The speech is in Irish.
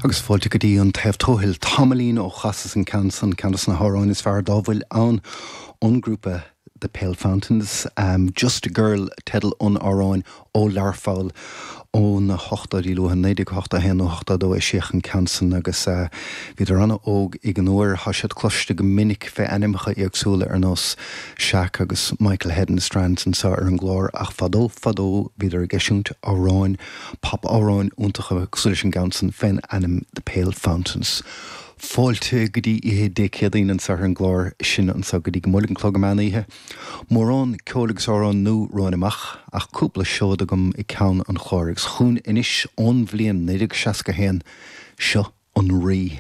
Agus fáilte go dtí an Taobh Tuathail. Tamaillín ó chasas an ceann san, ceann dos na hamhráin is fearr dá bhfuil ann ón ngrúpa The Pale Fountains. Just a Girl teideal an amhráin ó Learpholl ó na hochtóidí luatha, 1981 nó 82 eisíodh an ceann san agus bhíodar an-óg ag an uair. Tá siad cloiste go minic fé ainmneacha éagsúla ar nós Shaq agus Michael Head and the Strands anseo ar an gclár ach fadó fadó bhíodar ag eisiúint amhráin Pop-amhráin iontacha cosúil leis an gceann san fén ainm The Pale Fountains. Fáilte go dtí oíche Dé Céadaoin anseo ar an gclár sin anseo go dtí go mbuailfidh an clog an meán oíche. Mórán ceoil agus amhrán nua romhainn amach ach cúpla seoid agam ag ceann an chláir agus chugainn anois ón bhliain 1961 seo an Rí.